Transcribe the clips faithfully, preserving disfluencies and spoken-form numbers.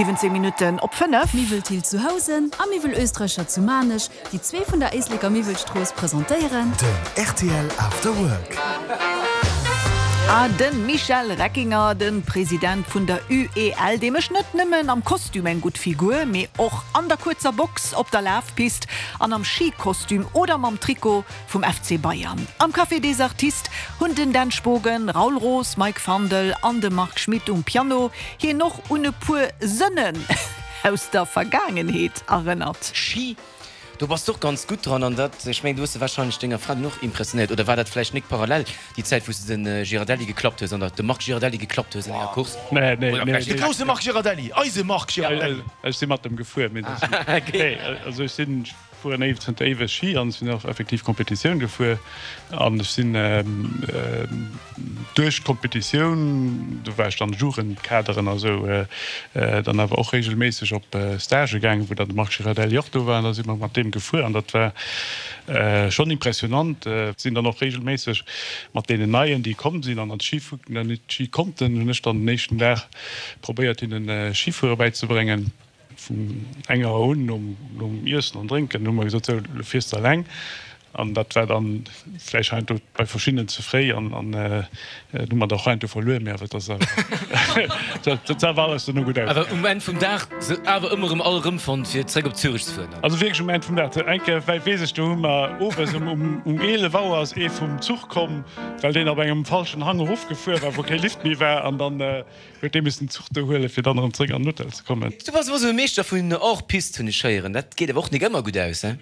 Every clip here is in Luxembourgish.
Siwwenzéng Minutten op fënnef. Miwwel Thill zu Housen a Miwwel Oesträicher zu Maarnech, déi zwee vun der Éisleker Miwwelstrooss, presentéieren. Den rtl After Work. A de Michel Reckinger, de President vun der U E L, dee mécht net nëmmen am Kostüm eng gutt Figur, mee och an der kuerzer Box, op der Lafpist an am Schikostüm oder mam Trikot vum F C Bayern. Am Café des Artistes hunn den Dan Spogen, Raoul Roos, Mike Fandel an de Marc Schmitt um Piano hien och un e puer Sënnen aus der Vergaangenheet erënnert. Schi, do bass de och ganz gutt dran an dat, ech mengen, du hues de warscheinlech denger Fra dunn och impressionéiert, oder war dat vläicht nik parallel déi Zäit wou s de den Girardelli geklappt hues an der de Marc Girardelli geklappt hues an enger Course? Nee, nee, Oder nee, vläicht nee. De grousse Marc Girardelli, eise Marc Girardelli. Ech si mat em gefuer, mee dat nee, also ech sinn, ech fueren éiw zënter éiweg Schi an ech sinn och effektiv Competitioun gefuer an ech sinn duerch d'Competitioun, do war ech dann Jugendkaderen a sou, dann awer och regelméisseg op Stagë gaangen, wou dann de Marc Girardelli och do war an da si mer mat deem gefuer an dat war schonn impressionant. Sinn dann och regelméisseg mat deenen Neien, déi komm sinn an an d'Schi net Schi konnten, hunn ech dann den éischten Dag probéiert hinnen Schifuere bäizebréngen. Vun enger Auer un, nom nom Iessen an Drénken, hu mer gesot, sou, elo fiers de eleng. An dat war dann vläicht heiansdo bei verschiddenen ze fréi an an hu mer da och heiansdo verluer, mee awer et ass awer dat ass awer alles duerno gutt Awer ausgaangen. um Enn vum Dag se awer ëmmer erëm all erëmfonnt fir zréck op Zürich ze fueren dann? Also wierklech um Enn vum Dag. Eng Kéier well weess ech, do hu mer owes um um um eelef Auer ass ee vum Zuch komm, well deen op engem falschen Hang erofgefuer war, wou kee Lift méi war an dann huet dee missen den Zuch do huelen, fir dann erëm zréck an den Hotel ze kommen. Du bass awer esou e Meeschter vun Hors-piste, hunn ech héieren. Dat geet awer och nik ëmmer gutt aus, he?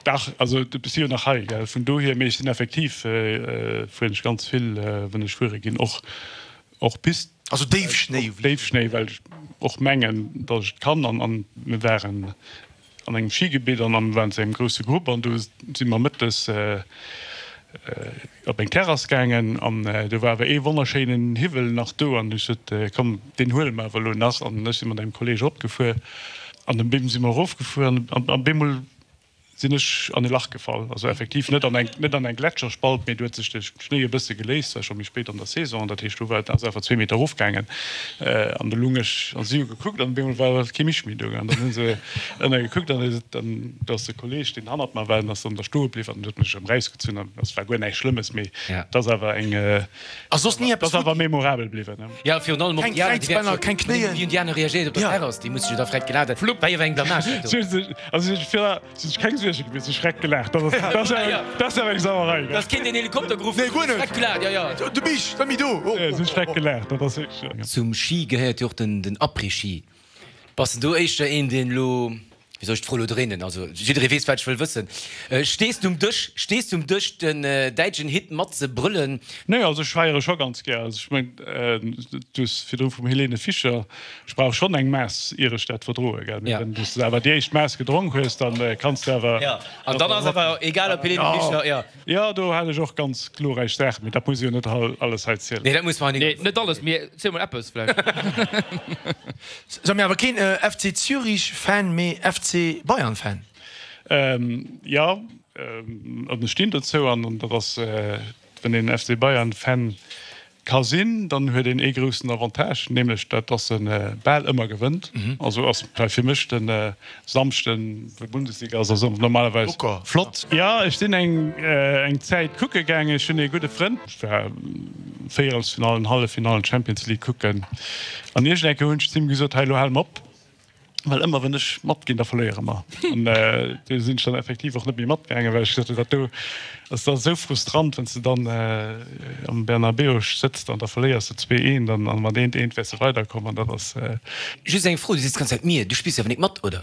Dach, also du si jo nach hei, gell, vun dohier, mee ech sinn effektiv, fueren ech ganz vill, wann ech fuere ginn, och och Pist. Also Déifschnéi? Déifschnéi, well ech och mengen, datt ech et kann. An an mir waren an engem Schigebitt an an waren zu engem grousse Grupp an do si mer mëttes op eng Terrass gaangen an do war awer ee wonnerschéinen Hiwwel nach do an ech sot, komm, deen huele mer awer elo nach. An ech si mat engem Kolleeg eropgefuer an op eemol si mer erofgefuer an op eemol sinn ech an e Lach gefall, also effektiv net an eng net an eng Gletscherspalt, mee do huet sech de Schnéi e bësse geléist, war scho méi spéit an der Saison, dat heescht do war et ass einfach zwee Meter erofgaangen an do lung ech an si hu gekuckt an op eemol war kee Mich méi do an dann hu se ënner gekuckt an dann do ass de Kolleeg deen hannert mer war, deen ass dann da stoe bliwwen an huet mech erëm erausgezunn an et war guer näischt Schlëmmes, mee et ass awer eng Ass soss ni eppes ass awer memorabel bliwwen. Jo, virun allem och Keng déi aner, déi Kräizbänner, keng Knéien. Wéi hunn déi aner reagéiert op der Terrass? Déi musse jo da vläicht gelaacht hunn. War jo awer eng Blamage dat do. Also ech fir sinn ech keng Suerge gewiescht, ech schreck gelaacht. Dat ass dat ass awer eng Sauerei, gell? Da ass keen den Helikopter geruff Nee, guer net. Schreck gelaacht, jo, jo. De Mich, de Mi do. Nee, sinn schreck gelaacht, dat ass wierklech. Zum Schi gehéiert jo och den den Après-Ski. Bass de do éischter een, deen elo, wéi soll ech d'Fro elo dréinen, also jidderee weess, wat ech wëll wëssen, stees de um Dësch, stees de um Dësch den däitschen Hit mat ze brëllen? Nee, also ech feiere scho ganz gär. Also ech mengen, du hues virdru vum Helene Fischer, ech brauch schonn eng Maass, ier ech dat verdroe, gell. Mee wann du awer déi éischt Maass gedronk hues, dann kanns de awer. Jo, an dann ass awer egal ob Helene Fischer, jo. Jo, do hat ech och ganz glorräich Saachen, mee dat muss ech jo net alles hei zielen. Nee, dat muss mer hei Nee, net alles, mee ziel mol eppes vläicht. Sou, mee awer keen F C Zürich Fan, mee F C Bayern Fan? Jo, an ech stinn dozou an dat ass, wann een F C Bayern Fan ka sinn, dann huet een ee groussen Avantage, nämlech dat dass e bal ëmmer gewënnt. Also ass fir mech de Samschden, wou Bundesliga ass, ass normalerweis flott. Jo, ech sinn eng eng Zäit kucke gaangen. Ech hunn ee gudde Frënd, ech war Véierelsfinallen, Halleffinallen Champions League kucken an iergend eng Kéier hunn ech zu him gesot, hei elo hale mer op. Well ëmmer wann ech matginn, da verléiere mer. An do sinn ech dann effektiv och net méi matgaangen, well ech gesot hunn, dat do ass da esou frustrant, wann s de dann am Bernabéu sëtzt an da verléiers de zwee eent an mat eent eent wäers de weiderkomm an dat ass. Just eng Fro, du sees d'ganz Zäit mir, du spills jo awer nik mat, oder?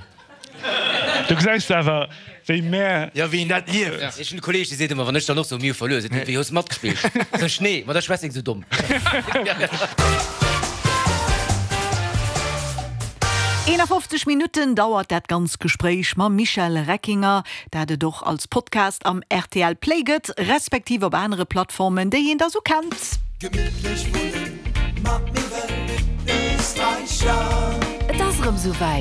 Du gesäis awer, wéi mär. Jo, wéi een dat lieft. Ech hunn e Kolleeg, dee seet ëmmer, wann ech dann och soen, mir hu verluer, seet en, wéi hues de matgespillt? Sot ech, nee, ma da schwätz eng sou domm. eenafofzeg Minutten dauert dat ganz Gespréich mam Michel Reckinger, dat et och als Podcast am R T L Play gëtt, respektiv op anere Plattformen, déi een da sou kennt. Gemittlech wunnen mat Miwwel Österreicher. Et ass erëm souwäit.